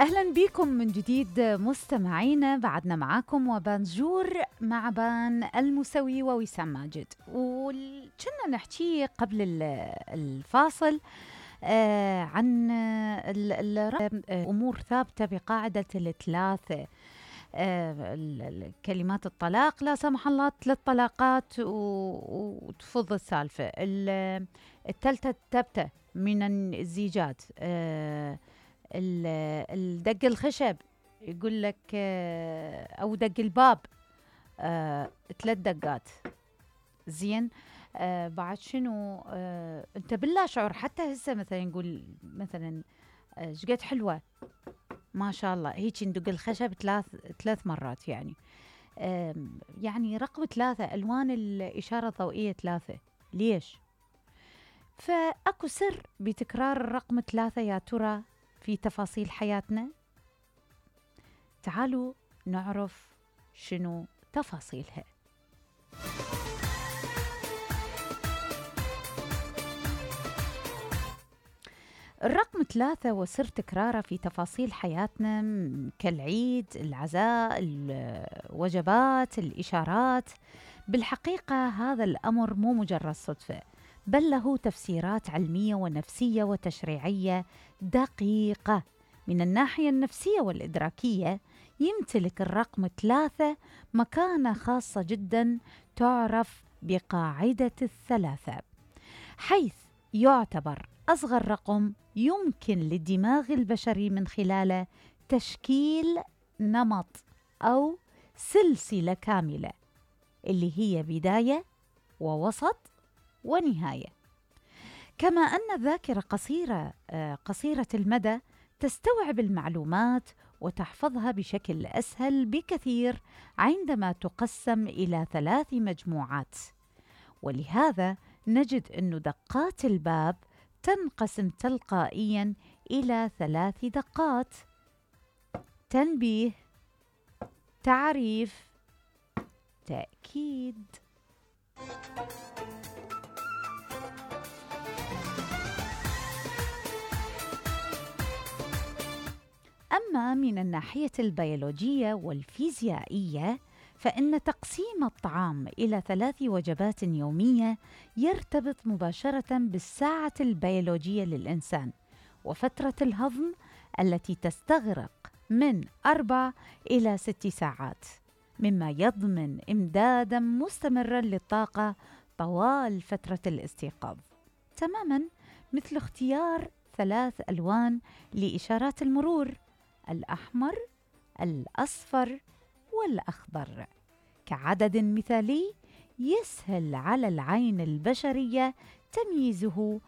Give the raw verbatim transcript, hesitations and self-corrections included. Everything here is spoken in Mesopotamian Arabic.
أهلا بكم من جديد مستمعينا، بعدنا معاكم وبنجور مع بان المسوي ووسام ماجد. وكنا نحكي قبل الفاصل آه عن أمور ثابتة بقاعدة الثلاثة، آه كلمات الطلاق لا سمح الله ثلاث طلاقات وتفض السالفة. الثالثة ثابتة من الزيجات، آه الدق الخشب يقول لك او دق الباب آه، ثلاث دقات. زين آه، بعد شنو آه، انت بالله شعور حتى هسه مثلا نقول مثلا شقد حلوه ما شاء الله هيك ندق الخشب ثلاث ثلاث مرات، يعني آه، يعني رقم ثلاثة، الوان الاشاره الضوئيه ثلاثة. ليش؟ فاكو سر بتكرار الرقم ثلاثة يا ترى في تفاصيل حياتنا؟ تعالوا نعرف شنو تفاصيلها. الرقم ثلاثة وسر تكراره في تفاصيل حياتنا كالعيد، العزاء، الوجبات، الإشارات. بالحقيقة هذا الأمر مو مجرد صدفة، بل له تفسيرات علمية ونفسية وتشريعية دقيقة. من الناحية النفسية والإدراكية يمتلك الرقم ثلاثة مكانة خاصة جدا تعرف بقاعدة الثلاثة، حيث يعتبر أصغر رقم يمكن للدماغ البشري من خلاله تشكيل نمط أو سلسلة كاملة، اللي هي بداية ووسط ونهاية. كما أن الذاكرة قصيرة قصيرة المدى تستوعب المعلومات وتحفظها بشكل أسهل بكثير عندما تقسم إلى ثلاث مجموعات. ولهذا نجد أن دقات الباب تنقسم تلقائيا إلى ثلاث دقات: تنبيه، تعريف، تأكيد. أما من الناحية البيولوجية والفيزيائية فإن تقسيم الطعام إلى ثلاث وجبات يومية يرتبط مباشرة بالساعة البيولوجية للإنسان وفترة الهضم التي تستغرق من أربع إلى ست ساعات، مما يضمن إمدادا مستمرا للطاقة طوال فترة الاستيقاظ، تماما مثل اختيار ثلاث ألوان لإشارات المرور: الأحمر، الأصفر، والأخضر، كعدد مثالي يسهل على العين البشرية تمييزه